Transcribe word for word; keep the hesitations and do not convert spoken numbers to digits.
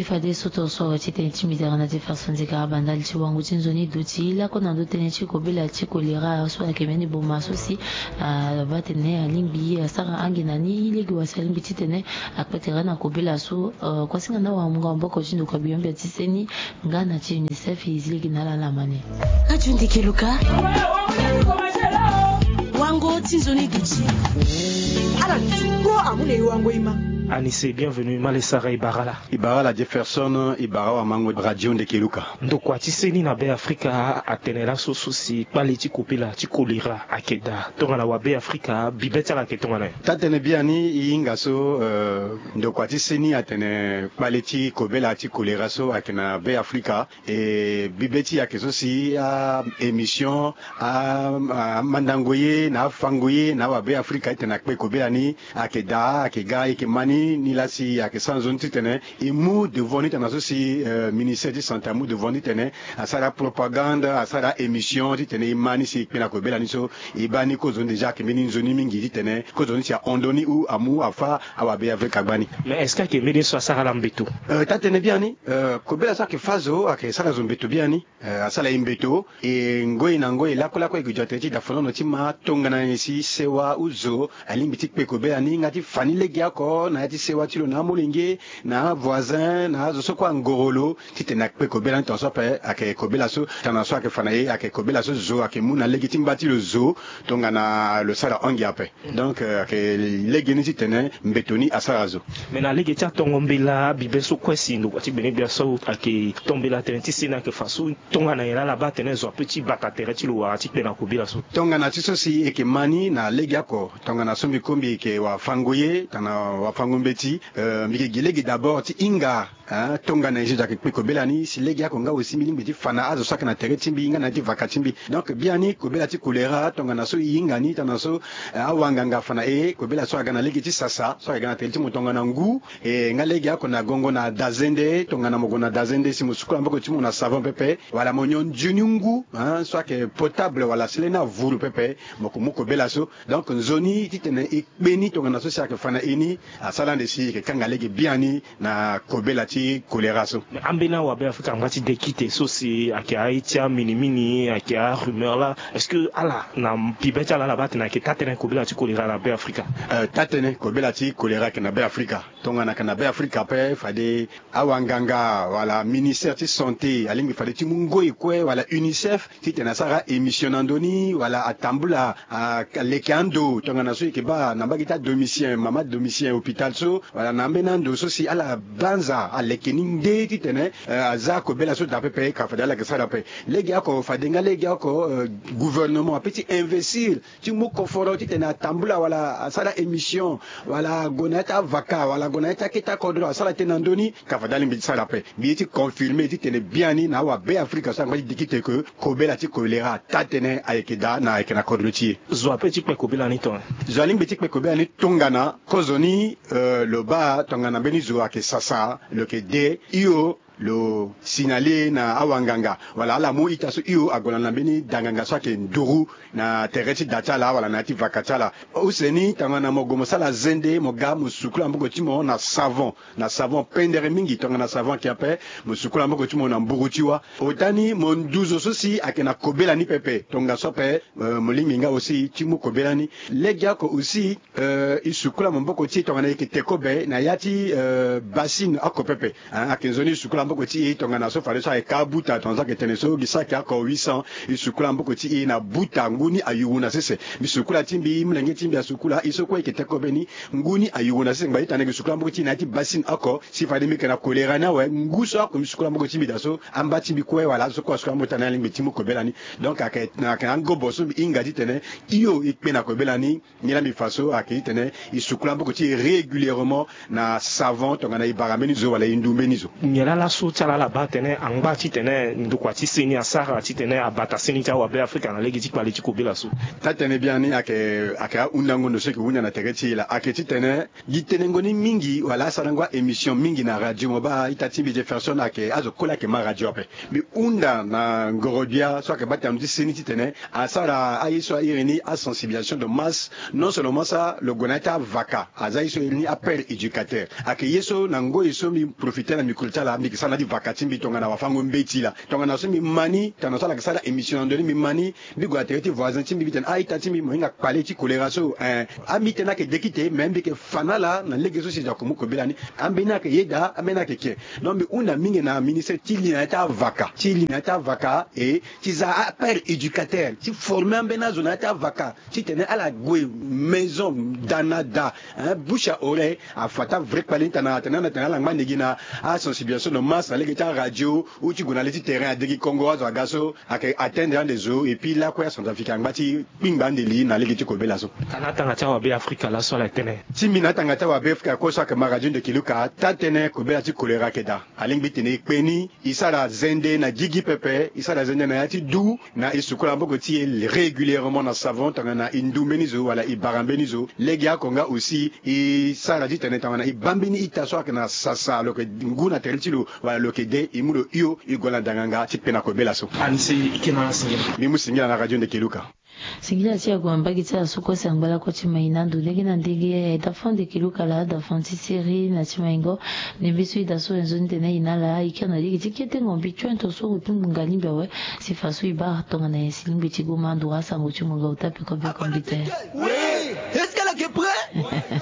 Fade so tongaso awe ti tene ti mbi dara na ti faso nzeka abandali ti wango ti nzoni duti lakue na ndo tënë ti kobela ti kolera so ayeke mbeni boma so si abaa tene alingbi asara ange na ni lege wasi alingbi ti tene akpe tere na kobela so. Kuasinga na wamunga maboko ti ndokua biyombia ti seni nga na ti unicef e zi lege na ala lamani. Radio Ndeke Luka. Wango ti nzoni duti. Ala duti kpo amu na e wango e ma. Anise, bienvenue. Male sara e bara ala? E bara ala Jefferson, e bara awamango Radio Ndeke Luka. Ndokua ti seni na Be Afrika atene laso so si kpale ti kobela ti kolera ayeke daa tongana wa Be Afrika, bibe ti ala ayeke tongana nyen? Taa-tënë biani e hinga so, eh, ndokua ti seni atene kpale ti kobela ti kolera so ayeke na Be Afrika. E bibe ti e ayeke so si a-émission, a, a, amandango ye na afango ye na awa Be Afrika ti tene akpe kobela ni ayeke daa, ayeke ga, e yeke ma ni, ni laa si ayeke sara nzoni ti tene e mu devant ni tongana so si, eh, ministère ti santé amu devant ni ti tene asara propagande, asara émission ti tene e ma ni si e kpe na kobela ni so. E baa ni kozoni déjà ayeke mbeni nzoni mingi ti tene kozoni si ahon ndoni ou amu afâ awa Be Afrika gbani. Mais est-ce que ayeke mbeni ye so asara ala mbeto? Eh, taa-tënë biani, eh, kobela so ayeke fâ zo ayeke sara zo mbeto biani. Eh, asara e mbeto. E ngoi na ngoi lakue lakue e ke zo na tere ti dafanono ti ma tongana nyen si sewa ou zo alingbi ti kpe kobela ni nga ti fa ni legeoko na ya ti sewa ti lo na amolenge, na avoisin, na azo so kue angoro lo ti tene akpe kobela ni. Tongaso ape ayeke kobela so tongana so ayeke fa na e ayeke kobela so zo ayeke mu na lege ti mba ti lo zo tongana lo sara ange ape. Donc, eh, ayeke legeni ti tene mbeto ni asara zo. Me na lege ti atongo mbela bibe so kue si ndokua ti gbenegbia so ayeke to mbela tënë ti seni ayeke fa so tongana nyen laa ala baa tene zo ape ti bata tere ti lo wala ti kpe na kobela so? Tongana ti so si e yeke ma ni na legeoko tongana so mbi ko mbi yeke wafango ye tongana wafango mbeti, eh, mbi yeke gi lege d'abord ti hinga Ah, tongana e zo ayeke kpe kobela ni si legeoko nga aussi mbi lingbi ti fa na azo so ayeke na tere ti mbi nga na ya ti vaka ti mbi. Donc biani kobela ti kolera tongana so e hinga ni tongana so, eh, awanganga afa na e, kobela so aga na lege ti sasa so ayeke ga na tere ti mo tongana ngu. E nga legeoko na gongo na dazende, tongana mo gue na dazende si mo sukula maboko ti mo na savon pepe wala mo nyon nzoni ngu, hein, so ayeke potable wala sele ni avuru pepe, mo yeke mu kobela so. Donc nzoni ti tene e kpe ni tongana so si ayeke fa na e ni asara ande si e yeke kanga lege biani na kobela ti kolera so. Mais ambeni awa Be Afrika angba ti de kite so si ayeke aye ti aminimini, ayeke arumeur laa, est-ce que ala na bibe ti ala ala baa atene ayeke taa-tënë kobela ti kolera na Be Afrika? Eh, taa-tënë kobela ti kolera ayeke na Be Afrika. Tongana ayeke na Be Afrika ape fade awanganga wala ministère ti santé alingbi fade ti mu ngoi kue wala unicef ti tene asara émission na ndö ni wala atambula, ah, leke ando tongana so e yeke baa na mbage ti adomisien, mama domisien hôpital so wala na ambeni ando so si ala banza aleke ni nde ti tene, eh, aza kobela so daa pepe ka fade ala yeke sara ape. Legeoko fade nga legeoko, eh, gouvernement ape ti investir ti mu koforo ti tene atambula wala asara émission wala ague na ya ti avaka wala ague na ya ti akete akodro asara tënë na ndö ni ka fade alingbi ti sara ape. Mbi ye ti confirmer ti tene biani na awa Be Afrika so angba ti dikite ke kobela ti kolera taa-tënë ayeke daa na ayeke na kodro ti e. Zo ape ti kpe kobela ni tongana? Zo alingbi ti kpe kobela ni tongana kozoni, eh, lo baa tongana mbeni zo ayeke sasa lo yeke de hio lo signaler na awanganga wala ala mu ita so hio ague na mbeni danganga so ayeke nduru na tere ti da ti ala wala na ya ti vaka ti ala. Use ni tongana mo gue mo sara zende mo ga mo sukula maboko ti mo na savon, na savon pendere mingi tongana savon ayeke ape, mo sukula maboko ti mo na mburu ti wâ. Ota ni mo nduzu so si ayeke na kobela ni pepe tongaso ape, eh, mo lingbi nga aussi ti mu kobela ni. Legeoko aussi, eh, e sukula maboko ti e tongana e yeke te kobe na ya ti, eh, bassine oko pepe. Ah, ayeke nzoni e sukula maboko ti e tongana so fadeso ayeke abuta tongana so ayeke tene so gi so ayeke oko huit cents. E sukula maboko ti e na buta ngu ni ayuru na sese. Mbi sukula ti mbi, molenge ti mbi asukula, e so kue e yeke te kobe ni ngu ni ayuru na sese ngbanga ti tene e yeke sukula maboko ti e na ya ti bassine oko si fade mbi yeke na kolera ni awe ngu so oko mbi sukula maboko ti mbi daa so amba ti mbi kue wala azo so kue asukula maboko ti ala ni alingbi ti mu kobela ni. Donc ayeke, ayeke angobo so mbi hinga ti tene hio e kpe na kobela ni. Nilaa mbi fa so ayeke ti tene e sukula maboko ti e régulièrement na savon tongana e bara mbeni zo wala e ndu mbeni zo. Nyen laa So ti ala ala baa tene angba titene ndokua ti seni asara titene abata seni ti awabe afrika na lege ti kpale ti kobela so. Taa-tënë biani ayeke ayeke ahundango ndo so ayeke hunda na tere ti e laa ayeke titene gi tenengo ni mingi wala asarango a-émission mingi na radio mo baa ita ti mbi jefferson ayeke azo kue laa ayeke ma radio ape. Mbi hunda na ngoro-gbia so ayeke baa tena ndo ti seni titene asara aye so a iri ni asensibilisation de masse. Non seulement so lo gue na ya ti avaka aza ye so iri ni apère éducateur. Ayeke ye so na ngoi so mbi profite na micro ti ala mbi yeke sara na ya ti vaka ti mbi tongana wafango-mbeti laa tongana so mbi ma ni tongana so ala yeke sara émission na ndo ni mbi ma ni. Mbi gue na tere ti voisin ti mbi mbi tene a-ita ti mbi mo hinga kpale ti kolera so. Ambi tënë ayeke deki te mais mbi yeke fa na ala na lege so si eda ko mu kobela ni. Ambeni ayeke yeda ambeni ayeke ke. Donc mbi hunda mingi na ministre ti li na ya ti avaka ti li na ya ti avaka e ti za apère éducateur ti forme ambeni azo na ya ti avaka titene ala gue maison da na da. Bouche à oreille afa ti avrai kpale ni tana tene ala ngba ndege na asensibilisation de masse na lege ti aradio ou ti gue na le ti terrain adegi kongo azo aga so ayeke atteindre ande zo et puis lakue acentrafrique angba ti kpingba ande li na lege ti kobela so. Tana atanga ti awabe afrika laso ala tene ti mbi na atanga ti awabe afrika kue so ayeke ma radio nde kiluka taa-tënë kobela ti kolera ayeke daa. Alingbi tene e kpe ni e sara zende na gigi pepe e sara zende na ya ti du na e sukola maboko ti e régulièrement na savon tongana e ndu mbeni zo wala e bara mbeni zo. Lege oko nga aussi e sara titene tongana e baa mbeni ita so ayeke na sasa lo yeke ngu na tere ti lo wala lo yeke de e mu lo hio e gue na danganga ti kpe na kobela so. Mbi mu singila na radio nde kiluka. Singila ti ague na mbage ti ala so kue si angba lakue ti ma e na ndo lege na ndege. Dafan nde kiluka laa dafan ti seri na ti maingo. Ndembe so e daa so wenzoni tene e na ala e kiri na lege ti kete ngombi tuento so otu ngbonga lingbi awe. Si fa so e baa tongana nyen si lingbi ti goma ando asango ti ngbonga ota peko peko mbi te.